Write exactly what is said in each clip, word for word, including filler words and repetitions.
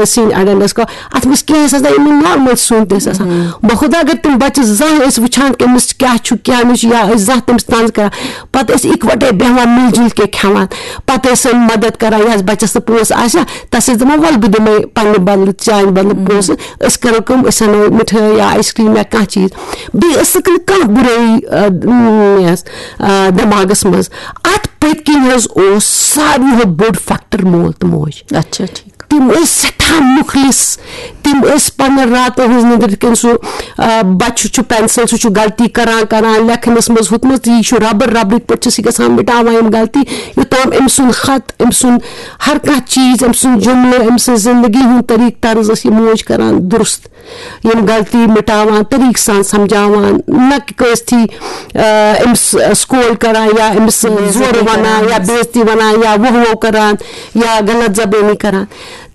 سِنۍ اَڑٮ۪ن ٲس کَران، اَتھ منٛز کینٛہہ ٲس آسان، یِمَن نارمَل سیُن تہِ ٲس آسان۔ بہٕ خۄدا، اگر تِم بَچہٕ زانٛہہ ٲسۍ وٕچھان کہِ أمِس کیٛاہ چھُ کیٛاہ نہٕ چھُ، یا ٲسۍ زانٛہہ تٔمِس طنز کَران، پَتہٕ ٲسۍ اِکوَٹَے بیٚہوان، مِل جُل کے کھٮ۪وان، پَتہٕ ٲسۍ سۄ مَدَد کَران، یَس بَچَس نہٕ پونٛسہٕ آسہِ ہا، تَس ٲسۍ دَپان، وَلہٕ بہٕ دِمَے پنٛنہِ بَدلہٕ، چانہِ بَدلہٕ پونٛسہٕ، أسۍ کَرو کٲم، أسۍ اَنو مِٹھٲے یا آیِس کرٛیٖم یا کانٛہہ چیٖز، بیٚیہِ ٲسٕکھ نہٕ کانٛہہ بُرٲیی، آ، یَس، آ، دٮ۪ماغَس منٛز۔ اَتھ پٔتۍ کِنۍ حظ اوس ساروی کھۄتہٕ بوٚڑ فیکٹر مول تہٕ موج۔ اچھا، ٹھیٖک۔ تِم ٲسۍ سٮ۪ٹھاہ مُخلص، تِم ٲسۍ پنٛنٮ۪ن راتَن ہٕنٛز نِندٕر کِنۍ سُہ، آ، بَچہٕ چھُ پینسل، سُہ چھُ غلطی کران، کران، لیکھنَس منٛز ہُتھ منٛز، تہٕ یہِ چھُ رَبٕر رَبرٕکۍ پٲٹھۍ چھِ سُہ گژھان مِٹاوان یِم غلطی، یوٚتام أمۍ سُنٛد خط، أمۍ سُنٛد ہر کانٛہہ چیٖز، أمۍ سُنٛد جُملہٕ، أمۍ سٕنٛز زندگی ہُنٛد طریٖقہٕ طرز ٲس یہِ موج کران درست۔ یِم غلطی مِٹاوان، طریٖقہٕ سان سمجھاوان، نہ کہِ کٲنٛسہِ تھی، آ، أمِس سکول کران یا أمِس بے عزتی زورٕ وَنان کران۔ یا بے عزتی وَنان یا وُہ وُہ کران یا غلط زبٲنی کران۔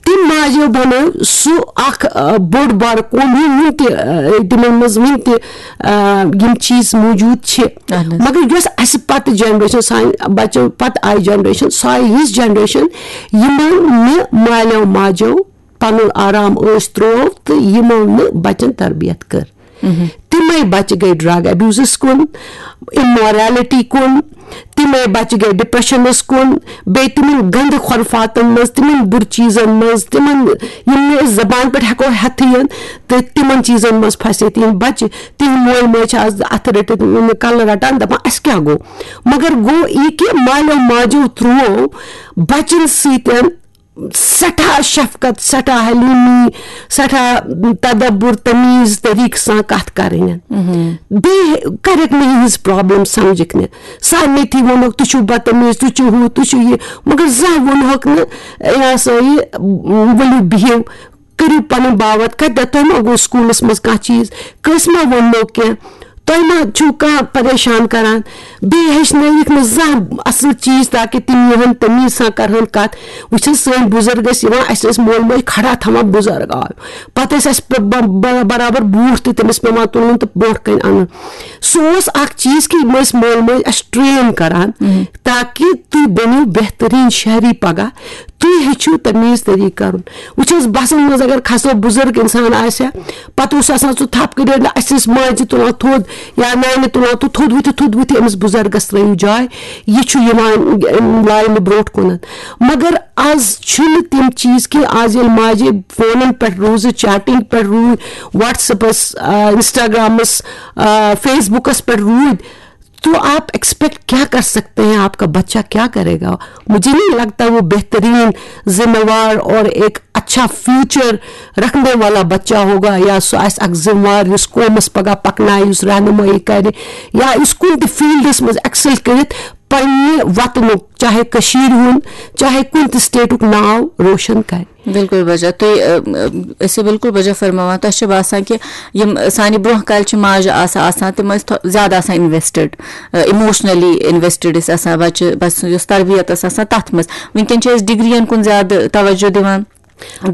تِم ماجیو بنٲو سُہ اکھ، آ، بوٚڑ بار قوم، یِم وُنہِ تہِ، آ، تِمن منٛز وُنہِ تہِ، آ، یِم چیٖز موجود چھِ۔ اہن حظ۔ مگر یۄس اَسہِ پتہٕ جنریشن، سانہِ بچو پتہٕ آیہِ جنریشن، سۄ آیہِ یِژھ جنریشن، یِمن نہٕ مالیو ماجیو پنُن آرام عٲش تروو تہٕ یِمو نہٕ بچن تربیت کٔر۔ تِمے بچہِ گٔے ڈرگ ابیوزس کُن، امورلٹی کُن، تِمے بچہِ گٔے ڈپریشنس کُن، بیٚیہِ تِمن گندٕ خرفاتن منٛز، تِمن بُرٕ چیٖزن منٛز، تِمن، یِم نہٕ أسۍ زبان پٮ۪ٹھ ہٮ۪کو ہٮ۪تھٕے یِن، تہٕ تِمن چیٖزن منٛز پھسے تِہنٛدۍ بچہِ۔ تِہنٛدۍ مٲلۍ مٲج چھِ آز اتھٕ رٔٹِتھ کلہٕ رٹان، دپان، اسہِ کیٛاہ گوٚو؟ مگر گوٚو یہِ کہِ مالیو ماجیو تروو بچن سۭتۍ سٮ۪ٹھاہ شفقت، سٮ۪ٹھاہ حلیمی، سٮ۪ٹھاہ تدبر، تمیز طریقہٕ سان کتھ کرٕنۍ۔ بیٚیہِ کرکھ نہٕ یِہنٛز پرابلم سمجھکھ نہٕ۔ سارنٕے تھی ووٚنُکھ، "تُہۍ چھِو بدتمیز، تُہۍ چھِو ہُہ، تُہۍ چھِو یہِ"، مگر زانٛہہ ووٚنہوکھ نہٕ، "یہِ ہسا یہِ، ؤلِو بِہِو، کٔرِو پنُن باوَتھ، کتہِ تۄہہِ ما گوٚو سکوٗلس منٛز کانٛہہ چیٖز، کٲنٛسہِ ما ووٚنمو کینٛہہ؟" تۄہہِ ما چھُو کانٛہہ پریشان کران؟ بیٚیہِ ہیٚچھنٲیِکھ نہٕ زانٛہہ اصل چیٖز، تاکہِ تِم یِہن تمیٖز سان کرہن کتھ۔ وٕچھ حظ، سٲنۍ بُزرگ ٲسۍ یِوان، اسہِ ٲسۍ مول موج کھڑا تھاوان، بُزرگ آو، پتہٕ ٲسۍ اسہِ ب-، ب-، ب-، برابر بوٗٹھ تہِ تٔمِس پٮ۪وان تُلُن تہٕ برونٛٹھ کنہِ انُن۔ سُہ اوس اکھ چیٖز کہِ یِم ٲسۍ مول موج اسہِ ٹرین کران، تاکہِ تُہۍ بٔنِو بہتریٖن شہری پگاہ، تُہۍ ہیٚچھِو تمیٖز طریٖقہٕ کرُن۔ وٕچھ حظ، بسن منٛز اگر کھسو، بُزرگ انسان آسہِ ہا، پتہٕ اوس آسان سُہ تھپھ کٔرِتھ، اسہِ ٲسۍ ماجہِ تُلان تھوٚد یا نانہِ تُلان تھوٚد، تھوٚد ؤتھِو، تھوٚد ؤتھِو، أمِس بُزرگس ترٲیِو جاے، یہِ چھُ یِوان، اَمہِ لاینہِ برونٛٹھ کُنتھ۔ مگر آز چھُنہٕ تِم چیٖز کینٛہہ۔ آز ییٚلہِ ماجہِ فونن پٮ۪ٹھ روٗزٕ، چیٹنگ پٮ۪ٹھ روٗدۍ، وٹس ایپس، آ، انسٹاگرامس، آ، فیس بُکس پٮ۪ٹھ روٗدۍ، تو آپ ایکسپیکٹ کیا کر سکتے ہیں؟ آپ کا بچہ کیا کرے گا؟ مجھے نہیں لگتا وہ بہترین، ذمہ وار اور ایک اچھا فیوچر رکھنے والا بچہ ہوگا، یا سُہ آسہِ اکھ ذمہ وار یُس قومس پگاہ پکنایہِ، یُس رہنمٲیی کرِ، یا یُس کُنہِ تہِ فیلڈس منٛز ایکسل کٔرِتھ پننہِ وطنُک، چاہے کٔشیٖرِ ہُنٛد، چاہے کُنہِ تہِ سٹیٹُک ناو روشن کرِ۔ بِلکُل بجا، تُہۍ، ٲ، ٲ، ٲسِو بِلکُل بجا فرماوان۔ تۄہہِ چھِ باسان کہِ یِم سانہِ برونٛہہ کالہِ چھِ ماجہِ آسان، آسان، تِم ٲسۍ تھو-، زیادٕ آسان انویسٹڈ، ٲ، ایموشنلی انویسٹڈ ٲسۍ آسان بچہِ، بچہِ سٕنٛز یۄس تربیت ٲس آسان تتھ منٛز۔ وٕنکیٚن چھِ أسۍ ڈگرین کُن زیادٕ توجہ دِوان،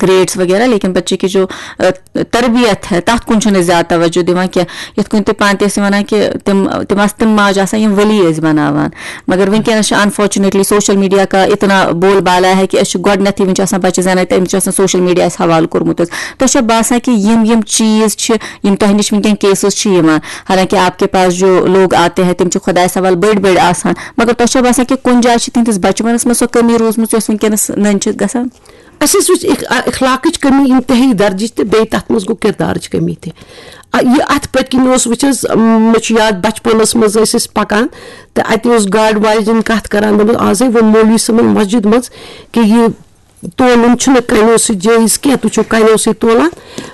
گریڈس وغیرہ، لیکن بچے کی جو، ٲ، تربیت ہے، تتھ کُن چھُنہٕ أسۍ زیادٕ توجہ دِوان کینٛہہ۔ یِتھ کٔنۍ تُہۍ پانہٕ تہِ ٲسِو ونان کہِ تِم، تِم آسہٕ، تِم ماجہِ آسان، یِم ؤلی ٲسۍ بناوان۔ مگر وٕنکیٚنَس چھِ unfortunately social media کا اتنا بول بالا ہے کہ أسۍ چھِ گۄڈٕنیتھٕے، وٕنہِ چھِ آسان بچہِ زٮ۪نان تہٕ أمِس چھُ آسان سوشل میڈیاہَس حوالہٕ کوٚرمُت حظ۔ تۄہہِ چھا باسان کہ یِم، یِم چیٖز چھِ، یِم تۄہہِ نِش وٕنکیٚن کیسز چھِ یِوان، حالانکہ آپ کے پاس جو لوگ آتے ہیں، تِم چھِ خۄدایَس حوالہٕ بٔڑۍ بٔڑۍ آسان، مگر تۄہہِ چھا باسان کہ کُنہِ جایہِ چھِ تِہنٛدِس بچپنس منٛز سۄ کٔمی روٗزمٕژ یۄس وٕنکیٚنَس نٔنۍ چھِ گژھان؟ اَسہِ حظ وٕچھ اخ-، اخلاقٕچ کٔمی انتہٲیی درجٕچ تہٕ بیٚیہِ تَتھ منٛز گوٚو کِردارٕچ کٔمی تہِ۔ آ، یہِ اَتھ پٔتۍ کِنۍ اوس، وٕچھ حظ، م-، مےٚ چھُ یاد، بچپنَس منٛز ٲسۍ أسۍ پَکان تہٕ اَتہِ اوس گاڑِ واجٮ۪ن کَتھ کَران، دوٚپمَس، "آزَے ووٚن مولوی صٲبَن مسجد منٛز کہِ یہِ تولُن چھُنہٕ کَنیو سۭتۍ جٲیِز کینٛہہ، تُہۍ چھِو کَنیو سۭتۍ تولان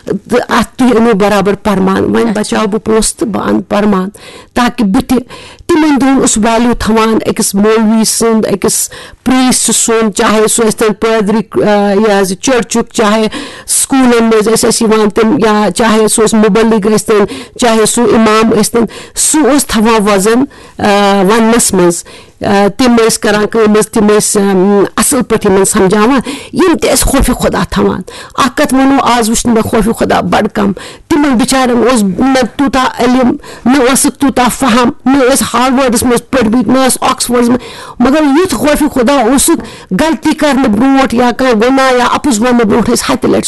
تہٕ اَتھ تُہۍ أنِو برابر پرمان، وۄنۍ بچاو بہٕ پونٛسہٕ تہٕ بہٕ اَنہٕ پرمان تاکہِ بہٕ تہِ۔" تِمَن دۄہَن اوس value تھاوان أکِس مولوی سُنٛد، أکِس پریسٹ سُنٛد، چاہے سُہ ٲسۍ تن پادری، آ، یہِ حظ یہِ چرچُک، چاہے سکوٗلن منٛز ٲسۍ اَسہِ یِوان تِم، یا چاہے سُہ اوس مُبلِغ ٲسۍ تن، چاہے سُہ اِمام ٲسۍ تن، سُہ اوس تھاوان وزن، آ، وننس منٛز۔ آ، تِم ٲسۍ کران کٲم حظ، تِم ٲسۍ، آم، اَصٕل پٲٹھۍ یِمن سمجھاوان، یِم تہِ ٲسۍ خوفِ خۄدا تھاوان۔ اَکھ کَتھ وَنو، آز وٕچھ نہٕ مےٚ خوفِ خۄدا بَڑٕ کَم۔ تِمن بِچارٮ۪ن اوس نہ تیوٗتاہ علم، نہ اوسُکھ تیوٗتاہ فہم، نہ ٲسۍ ہاروٲڈَس منٛز پٔرمٕتۍ، نہ ٲسۍ آکسفورڈَس منٛز، مگر یُتھ خوفِ خۄدا اوسُکھ، غلطی کرنہٕ برونٛٹھ یا کانٛہہ گۄناہ یا اَپُز وَننہٕ برونٛٹھ ٲسۍ ہَتہِ لَٹہِ